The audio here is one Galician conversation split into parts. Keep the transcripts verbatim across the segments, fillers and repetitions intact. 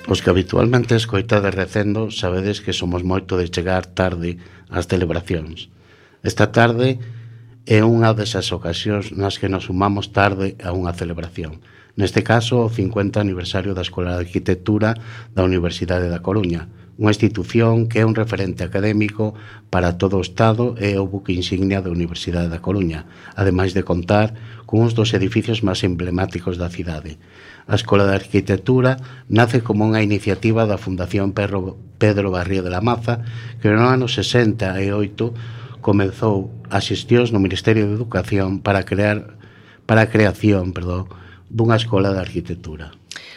Os que habitualmente escoitades recendo sabedes que somos moito de chegar tarde ás celebracións. Esta tarde é unha desas ocasións nas que nos sumamos tarde a unha celebración. Neste caso, o cincuenta aniversario da Escola de Arquitectura da Universidade da Coruña, unha institución que é un referente académico para todo o Estado e o buque insignia da Universidade da Coruña, ademais de contar cun dos edificios máis emblemáticos da cidade. A Escola de Arquitectura nace como unha iniciativa da Fundación Pedro, Pedro Barrio de la Maza, que no ano sesenta e oito comezou as xestións no Ministerio de Educación para crear para a creación, perdón, dunha escola de arquitectura.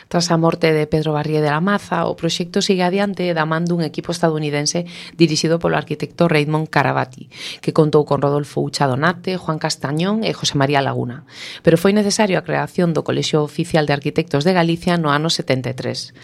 Tras a morte de Pedro Barrié de la Maza, o proxecto sigue adiante da man dun equipo estadounidense dirixido polo arquitecto Raymond Caravati, que contou con Rodolfo Ucha Donate, Juan Castañón e José María Laguna. Pero foi necesario a creación do Colexio Oficial de Arquitectos de Galicia no ano setenta e tres.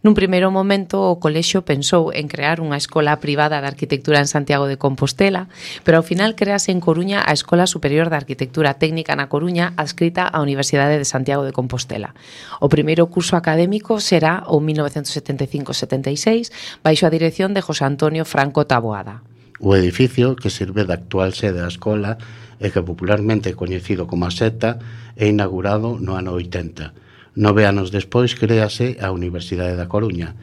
Nun primeiro momento, o colexio pensou en crear unha escola privada de arquitectura en Santiago de Compostela, pero ao final crease en Coruña a Escola Superior de Arquitectura Técnica na Coruña, adscrita á Universidade de Santiago de Compostela. O primeiro curso académico será o mil novecentos setenta e cinco setenta e seis, baixo a dirección de José Antonio Franco Taboada. O edificio, que serve da actual sede da escola e que popularmente é coñecido como a Seta, é inaugurado no ano oitenta. Nove anos despois créase a Universidade da Coruña,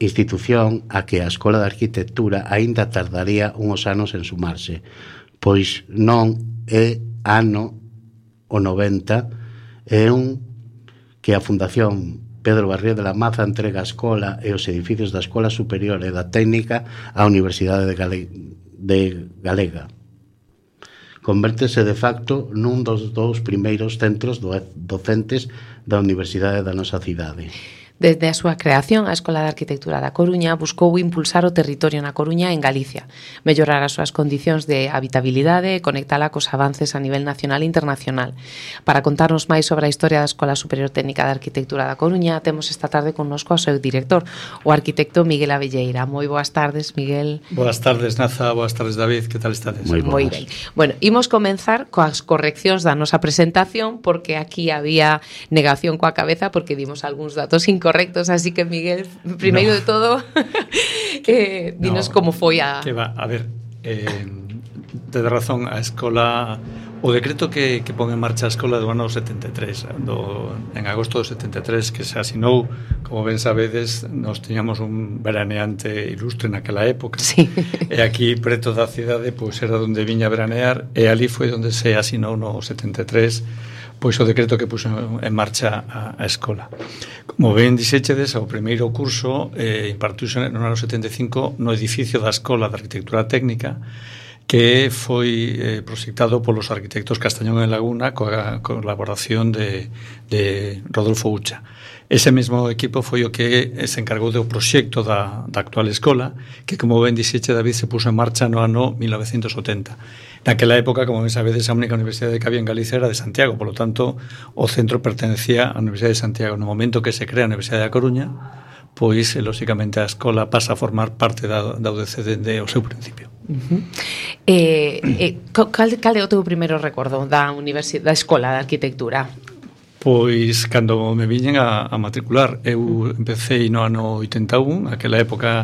institución a que a Escola de Arquitectura aínda tardaría uns anos en sumarse, pois non é ano o noventa, é un que a Fundación Pedro Barrié de la Maza entrega a escola e os edificios da Escola Superior e da Técnica á Universidade de, Gale... de Galega. Convértese de facto nun dos dous primeiros centros docentes da Universidade da nosa cidade. Desde a súa creación, a Escola de Arquitectura da Coruña buscou impulsar o territorio na Coruña e en Galicia, mellorar as súas condicións de habitabilidade e conectala cos avances a nivel nacional e internacional. Para contarnos máis sobre a historia da Escola Superior Técnica de Arquitectura da Coruña, temos esta tarde connosco ao seu director, o arquitecto Miguel Abelleira. Moi boas tardes, Miguel. Boas tardes, Naza. Boas tardes, David. Que tal estades? Moi ben. Bueno, imos comenzar coas correccións da nosa presentación, porque aquí había negación coa cabeza, porque dimos algúns datos incorrectos. Correctos, así que Miguel, primeiro no. de todo, eh, dinos no, como foi a... Que va, a ver, eh, de razón, a escola, o decreto que, que pon en marcha a escola do ano setenta e tres, do, en agosto do setenta e tres, que se asinou, como ben sabedes, nos teñamos un veraneante ilustre naquela época, sí. E aquí, preto da cidade, pois era onde viña a veranear, e ali foi onde se asinou no setenta e tres, pois o decreto que puxo en marcha a, a escola. Como ben dixéchedes, o primeiro curso eh, impartiuse no ano setenta e cinco no edificio da Escola de Arquitectura Técnica, que foi eh, proxectado polos arquitectos Castañón e Laguna coa colaboración de, de Rodolfo Ucha. Ese mesmo equipo foi o que se encargou do proxecto da, da actual escola, que, como ben dixeche, David, se puso en marcha no ano mil novecentos oitenta. Naquela época, como ben sabedes, a única universidade que había en Galicia era de Santiago, polo tanto, o centro pertenecía á Universidade de Santiago. No momento que se crea a Universidade da Coruña, pois, lóxicamente, a escola pasa a formar parte da, da U D C dende o seu principio. Uh-huh. eh, eh, cal, cal é o teu primeiro recordo da, universidade, da Escola de Arquitectura? Pois, cando me viñen a, a matricular, eu empecé no ano oitenta e un, aquela época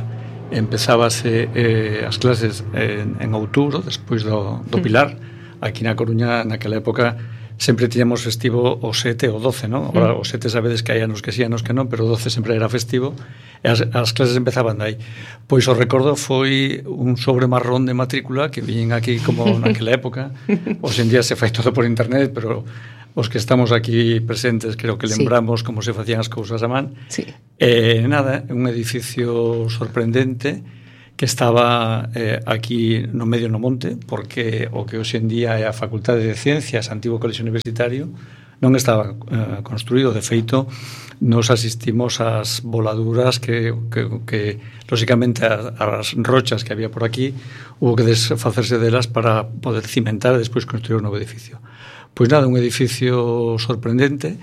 empezábase eh, as clases en, en outubro, despois do, do Pilar. Aquí na Coruña, naquela época, sempre tiñamos festivo o sete ou doce, non? Agora, o sete sabedes que hai anos que sí, anos que non, pero o doce sempre era festivo, e as, as clases empezaban dai. Pois o recordo foi un sobre marrón de matrícula que viñen aquí como naquela época. Hoxe en día se fai todo por internet, pero os que estamos aquí presentes creo que lembramos sí. como se facían as cousas a man. Sí. Eh, nada, un edificio sorprendente que estaba eh, aquí no medio no monte, porque o que hoxe en día é a Facultade de Ciencias, antigo colexio universitario, non estaba eh, construído. De feito, nos asistimos ás voladuras que, que, que lóxicamente, as, as rochas que había por aquí, hubo que desfacerse delas para poder cimentar e despois construir un novo edificio. Pois nada, un edificio sorprendente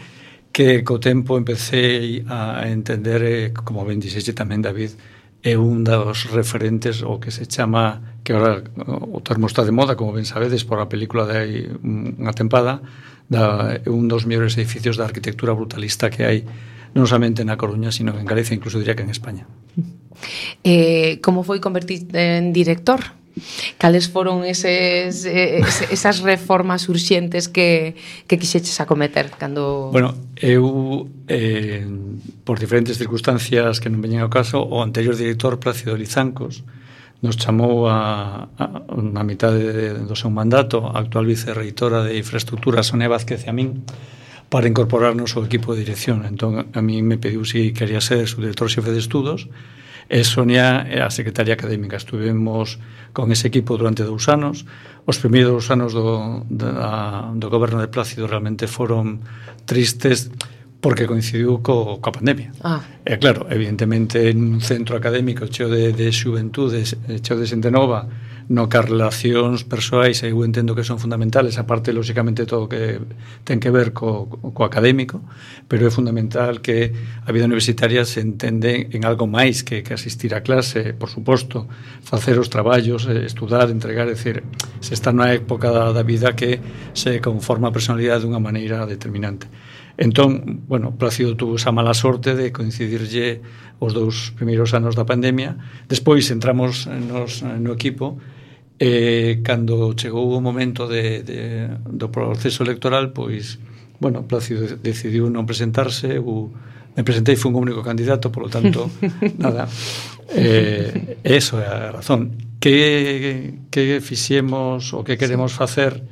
que co tempo empecé a entender, eh, como ben dixeche tamén, David, é un dos referentes o que se chama, que agora o termo está de moda, como ben sabedes, por a película de hai unha tempada, da, un dos mellores edificios da arquitectura brutalista que hai non somente na Coruña, sino en Galicia, incluso diría que en España. Eh, como foi convertirte en director? Cales foron eses, es, esas reformas urxentes que, que quixeches acometer cando... Bueno, eu, eh, por diferentes circunstancias que non veñen ao caso, o anterior director, Plácido Lizancos, nos chamou a, a, a mitad de, do seu mandato a actual vicerreitora de infraestructura, Sonia Vázquez, e a min, para incorporarnos ao equipo de dirección. Entón, a mí me pediu si quería ser su director xefe de estudos, e Sonia é a secretaria académica. Estuvemos con ese equipo durante dous anos. Os primeiros anos do, da, do goberno de Plácido realmente foron tristes porque coincidiu co, coa pandemia. Ah. E claro, evidentemente en un centro académico cheo de, de xuventudes, cheo de xente nova, no que as relacións persoais eu entendo que son fundamentales, aparte lóxicamente todo o que ten que ver co, co académico, pero é fundamental que a vida universitaria se entende en algo máis que, que asistir a clase, por suposto, facer os traballos, estudar, entregar, é dicir, se está na época da, da vida que se conforma a personalidade dunha maneira determinante. Entón, bueno, Plácido tuvo esa mala sorte de coincidirlle os dous primeiros anos da pandemia. Despois entramos nos, no equipo e cando chegou o momento de, de, do proceso electoral, pois, bueno, Plácido decidiu non presentarse, eu me presentei, fui un único candidato, por lo tanto, nada, eh, eso é a razón. Que, que fixemos o que queremos facer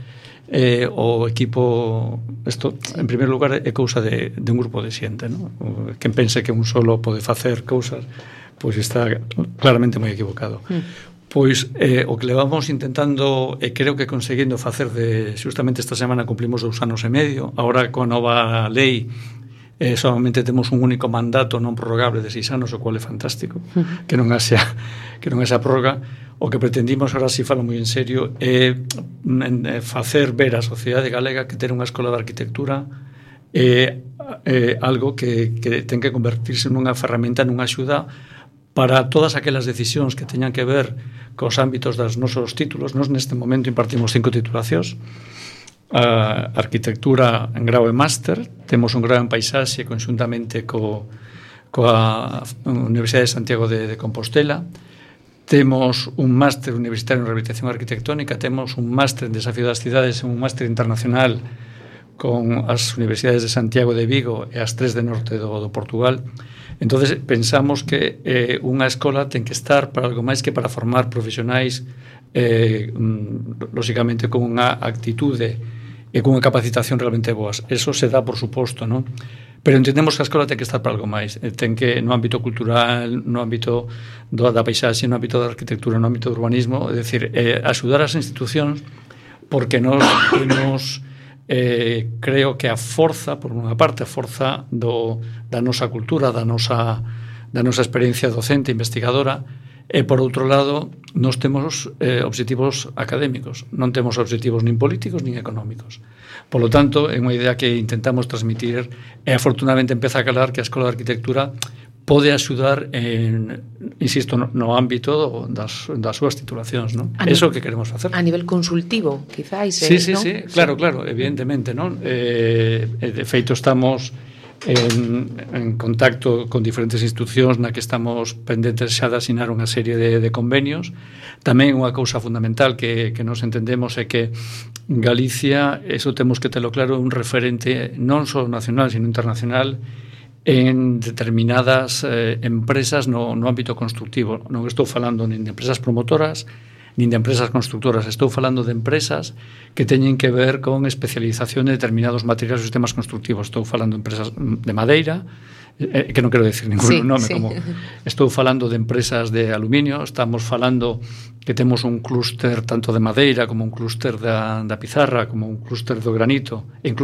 eh, o equipo, isto en primeiro lugar é cousa de, de un grupo de xente, ¿no? Quen pense que un solo pode facer cousas, pois está claramente moi equivocado. Mm. Pois eh, o que levamos intentando e creo que conseguindo facer de justamente esta semana cumplimos dous anos e medio. Agora coa nova lei eh, solamente temos un único mandato non prorrogable de seis anos, o cual é fantástico, uh-huh. que non haxa que non haxa prórroga. O que pretendimos, agora si falo moi en serio, é eh, facer ver a sociedade galega que ter unha escola de arquitectura é eh, algo que, que ten que convertirse nunha ferramenta, nunha axuda para todas aquelas decisións que teñan que ver cos ámbitos das nosos títulos. Nos neste momento impartimos cinco titulacións, a arquitectura en grau e máster, temos un grau en paisaxe conxuntamente co, coa Universidade de Santiago de, de Compostela, temos un máster universitario en rehabilitación arquitectónica, temos un máster en desafío das cidades, un máster internacional con as universidades de Santiago de Vigo e as tres de norte do, do Portugal. Entonces pensamos que eh, unha escola ten que estar para algo máis que para formar profesionais eh, lóxicamente con unha actitude e con unha capacitación realmente boas. Eso se dá por suposto, non? Pero entendemos que a escola ten que estar para algo máis. Ten que, no ámbito cultural, no ámbito do, da paisaxe, no ámbito da arquitectura, no ámbito do urbanismo, é dicir, eh, axudar as institucións porque nos temos... Eh, creo que a forza, por unha parte, a forza do, da nosa cultura, da nosa, da nosa experiencia docente, investigadora, e por outro lado, nos temos eh, obxectivos académicos, non temos obxectivos nin políticos nin económicos. Por lo tanto, é unha idea que intentamos transmitir e afortunadamente empeza a calar que a Escola de Arquitectura pode axudar en, insisto, no, no ámbito das, das súas titulacións, non? Eso que queremos facer. A nivel consultivo, quizáis, sí, eh, sí, ¿no? sí, claro, claro, evidentemente, non? Eh, de feito, estamos en, en contacto con diferentes institucións na que estamos pendentes xa de asinar unha serie de, de convenios. Tamén unha cousa fundamental que, que nos entendemos é que Galicia, eso temos que telo claro, é un referente non só nacional, sino internacional en determinadas eh, empresas no, no ámbito constructivo. Non estou falando nin de empresas promotoras nin de empresas constructoras, estou falando de empresas que teñen que ver con especialización de determinados materiais ou sistemas constructivos. Estou falando de empresas de madeira, eh, que non quero decir ningún sí, nome, sí. Como estou falando de empresas de aluminio, estamos falando que temos un clúster tanto de madeira como un clúster da, da pizarra, como un clúster do granito, e incluso